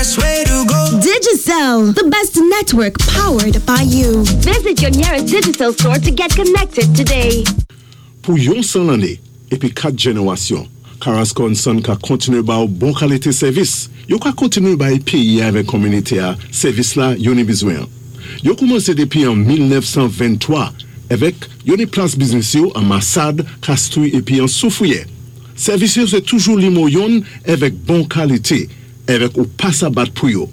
best way to go. Digicel, the best network powered by you. Visit your nearest Digicel store to get connected today. Pou yon 100 lanné épi 4 jénéwasyon, Carrasco & Son ka kontiné ba ou bon kalité sèvis. Yo ka kontiné bay péyi-a avèk kominité-a sèvis la yo ni bizwen. Yo koumansé dépi an 1923 avèk yo ni plas biznis yo an Massade, Castries épi an Soufrière. Sèvis yo sé toujou nimewo youn avèk bon kalité, avèk ou pa sa bat pou yo.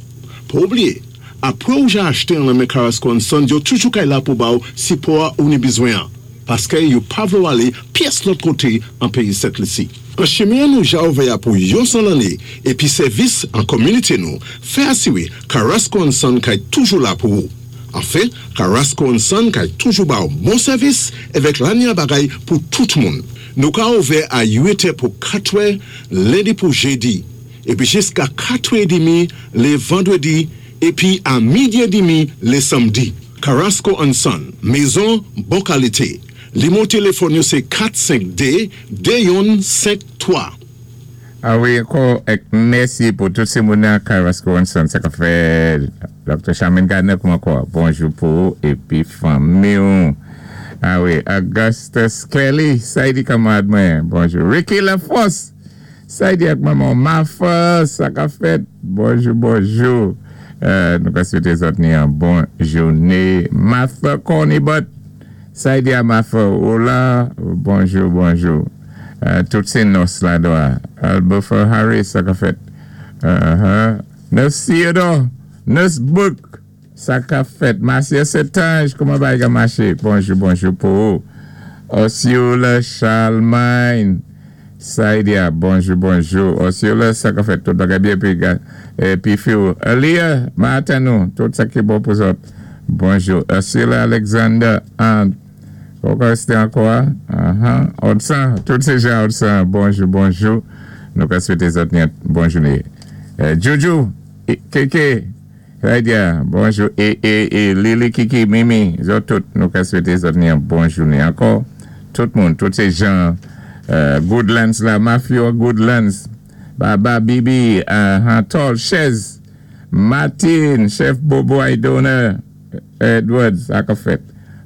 Pa oubliyé, apwé ou ja achté an nan men Carrasco & Son, yo toujou kay la pou ba ou sipò ou ni bizwen an. Paské yo pa vlé ou alé pyès lòt koté an péyi Sent Lisi. An chimen nou ja ouvè pou yon 100 lanné épi sèvis an kominité nou, fè asiwé Carrasco & Son kay toujou la pou ou. Anfen, Carrasco & Son kay toujou ba ou bon sèvis avèk lanya bagay pou tout moun. Nou ka ouvè a 8 pou 4 lendi pou jédi, épi jiska 4 demi lé vandwédi, épi a midi édmi lé sanmdi. Carrasco & Son, mézon bon kalité. Nimewo téléfòn yo sé 452 2153. A wi, ankò, èk mèsi pou tout sé moun nan Carrasco & Son, sa ka fè Dr. Charmaine Gardner kouman kwa. Bonjou pou ou épi fanmi ou. A wi, Augustus Kelly, sa i di kanmarad mwen. Bonjou. Ricky Laforce, sa i di ak manman Mafa, sa ka fèt. Bonjou, bonjou. Nou ka swété zòt ni an bon jouné. Martha Cornibot, sa i di a Martha, hola, bonjou, bonjou. Tout sé nòs la dwa. Albufer Harris, sa ka fèt. Nurse Theodore, Nurse Book, sa ka fèt. Marcia Setange, kouman bagay ka maché? Bonjou, bonjou pou ou. Osceola Charlemagne, sa i di a, bonjou, bonjou. Osceola, sa ka fèt, tout bagay byen épi, épi fi ou. Elia, maten nou, tout sa ki bon pou zòt. Bonjou. Osceola Alexander, an, ankò sé ankò, Odsan, tout sé jan Odsan, bonjou, bonjou. Nou ka swété zòt ni bon jouné. Jojo, Keke, Raidia, bonjou. É Lili, Kiki, Mimi, zòt tout, nou ka swété zòt ni bon jouné. Ankò, tout moun, tout sé jan Goodlands la, Mafio Goodlands, Baba, Bibi, Tol, Chez, Martin, Chef Bobo Idona, Edwards, sa ka fèt.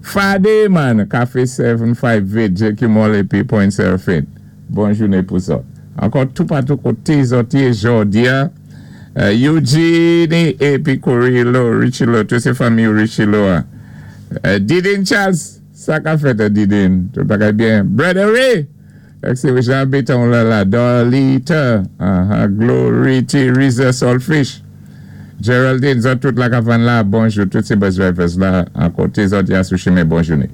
Fade, man, Café 758, JQ Mall épi Point Seraphine. Bon jouné pou zòt. Ankò toupatou koté zòt yé jòdi-a, Eugene épi Corillo, Richilo, tout sé fanmi Richilo a. Didin Charles, sa ka fèt Didin, tout bagay byen. Brother Ray, sé Jean Béton la la, Darlita, Glory Teresa Saltfish, Geraldine, zòt tout la ka vann la, bonjou, tout sé bus drivers la, an koté zòt ya sou chimen, bon jouné.